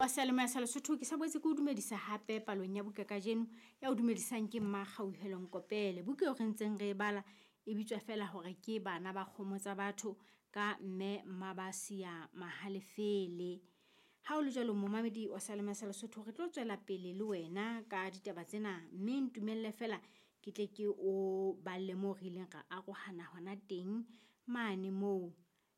Wa seyalemoya sa Lesotho ke sa boetse ke o dumedisa hape palong ya buka kajeno ya o dumedisang ke Mma Kgauhelo Nkopele. Buka eo re ntseng re e bala e bitswa feela hore ke Bana ba Kgomo tsa Batho ka Mme Mmabasia Mahalefele. Ha o le jwalo momamedi wa seyalemoya sa Lesotho re tlo tswela pele le wena ka ditaba tsena mme ntumelle feela ke tle ke o balle moo re ileng ra arohana hona teng mane moo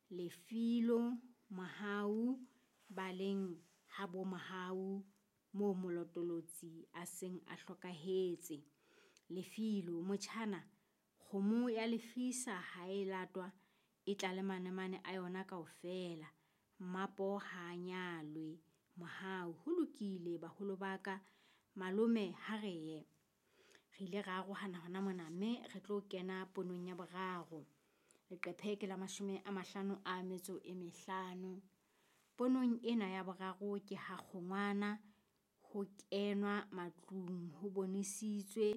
Lefilo Mohau ba leng ha bo Mohau moo Molotolotsi a seng a hlokahetse. Lefilo motjhana kgomo ya lefisa ha e latwa e tla le manemane a yona kaofela. Mmapo ha a nyalwe. Mohau ho lokile baholo ba ka malome ha re ye. Re ile ra arohana hona mona mme re tlo kena ponong ya boraro. Leqephe ke la 55. Ponong ena ya boraro ke ha kgongwana ho kenwa matlung ho bonesitswe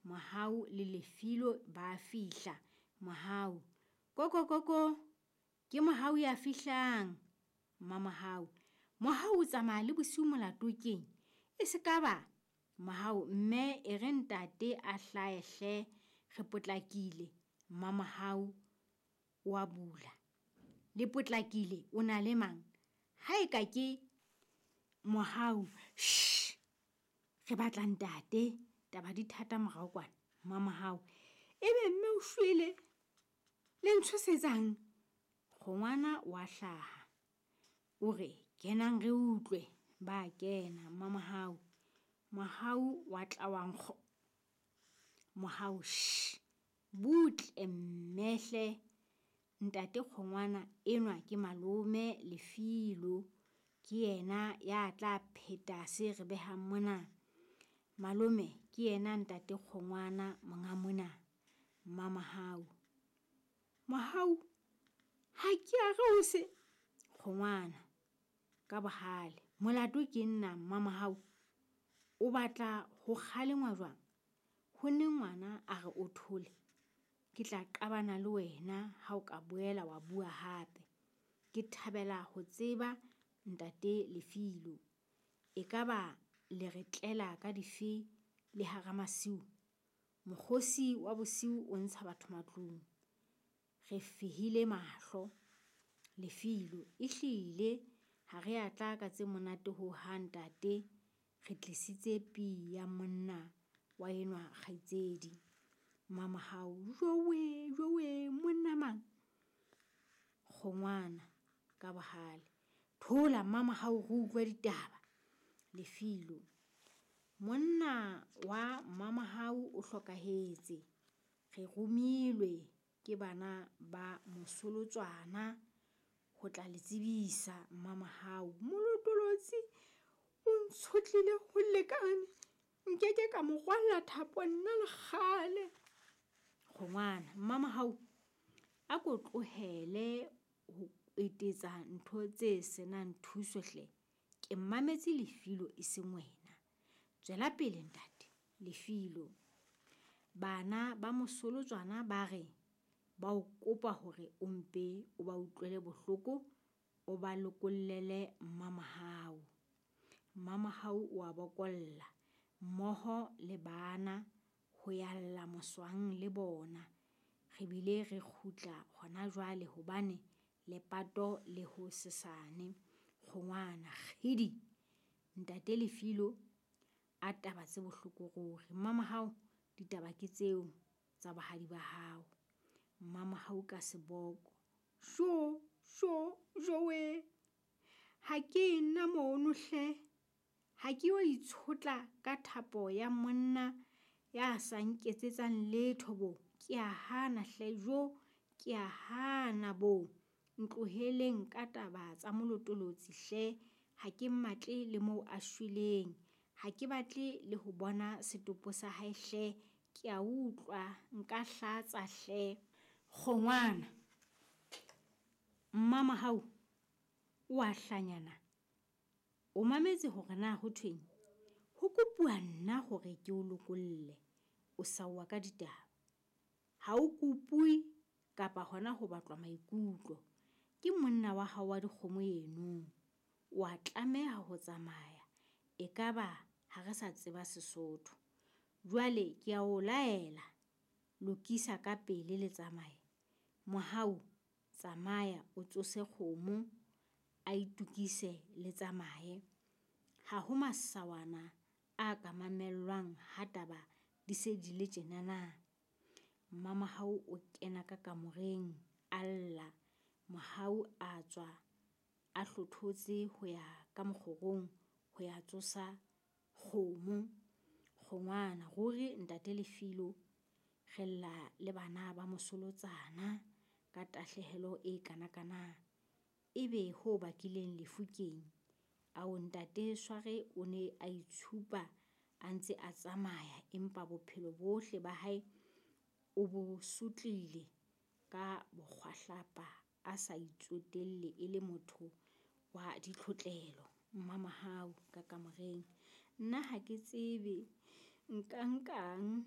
Mohau le Lefilo ba fihla. Mohau koko koko ke Mohau ya fihlang. Mmamohau Mohau o tsamaya le bosiu molato keng? E se ka ba Mohau mme e re ntate a hlahe hle re potlakile. Mmamohau wa bula. Le potlakile o na le mang? Ha e ka ke Mohau shh re batla ntate taba di thata morao kwana. Mmamohau ebe mme o shwele le ntshosetsang? Kgongwana wa hlaha o re kenang re utlwe. Ba kena. Mmamohau Mohau wa tla wa nkgo. Mohau shh butle mme hle. Ntate Kgongwana enwa ke malome Lefilo ke yena ya tla pheta se re behang mona. Malome ke yena ntate Kgongwana monga mona. Mmamohau Mohau ha ke a re o se Kgongwana ka bohale. Molato ke nna Mmamohau. O batla ho kgalengwa jwang? Ho ne ngwana a re o thole. Ke tla qabana le wena ha o ka boela wa bua hape. Ke thabela ho tseba ntate Lefilo. Ekaba le re tlela ka dife le hara masiu? Mokgosi wa bosiu o ntsha batho matlung. Re fehile mahlo. Lefilo ehlile ha re a tla ka tse monate ho hang ntate. Re tlisitse pi ya monna wa enwa kgaitsedi. Mmamohau jowe jowe monna mang? Kgongwana ka bohale. Thola Mmamohau re utlwe ditaba. Lefilo monna wa Mmamohau o hlokahetse. Re romilwe ke bana ba Mosolotswana ho tla le tsebisa. Mmamohau Molotolotsi o ntshotlile ho lekane. Nkeke ka mo rwalla thapo nna le kgale. Kgongwana Mmamohau a ko tlohele ho etetsa ntho tse senang thuso hle. Ke mmametse Lefilo e seng wena. Tswela pele ntate. Lefilo bana ba Mosolotswana ba re ba o kopa hore o mpe o ba utlwele bohloko o ba lokollele Mmamohau. Mmamohau o a bokolla mmoho le bana ho yalla moswang le bona. Re bile re kgutla hona jwale hobane lepato le ho sesane. Kgongwana kgidi ntate Lefilo a taba tse bohloko ruri. Mmamohau ditaba ke tseo tsa bohadi ba hao. Mmamohau ka seboko jo jo jowe ha ke nna mono hle. Ha ke yo itshotla ka thapo ya monna ya sa nketsetsang letho bo. Ke a hana hle jo ke a hana bo. Ntloheleng ka taba tsa Molotolotsi hle. Ha ke mmatle le moo a shweleng. Ha ke batle le ho bona setopo sa hae hle. Ke a utlwa nka hlatsa hle. Kgongwana Mmamohau o a hlanyana. O mametse hore na ho thweng? Ho kopuwa nna hore ke o lokolle. O saowa ka ditaba. Ha o kopuwe kapa hona ho batlwa maikutlo. Ke monna wa hao wa dikgomo eno. O a tlameha ho tsamaya, ekaba ha re sa tseba Sesotho. Jwale kea o laela, lokisa ka pele le tsamaye. Mohau tsamaya o tsose kgomo a itukise le tsamaye. Ha ho masawana a ka mamellwang ha taba di se di le tjenana. Mmamohau o kena ka kamoreng a lla. Mohau a tswa a hlothotse ho ya ka mokgorong ho ya tsosa kgomo. Kgongwana, ruri ntate Lefilo re lla le bana ba mosolotshana ka tahlehelo e kanakana. Ebe ho bakileng lefu keng? Ao ntate Sware o ne a itshupa a ntse a tsamaya, empa bophelo bohle ba hae o bo sotlile ka bokgwahlapa a sa itsotelle e le motho wa ditlhotlelo. Mmamohau ka kamoreng, nna ha ke tsebe nka nkang.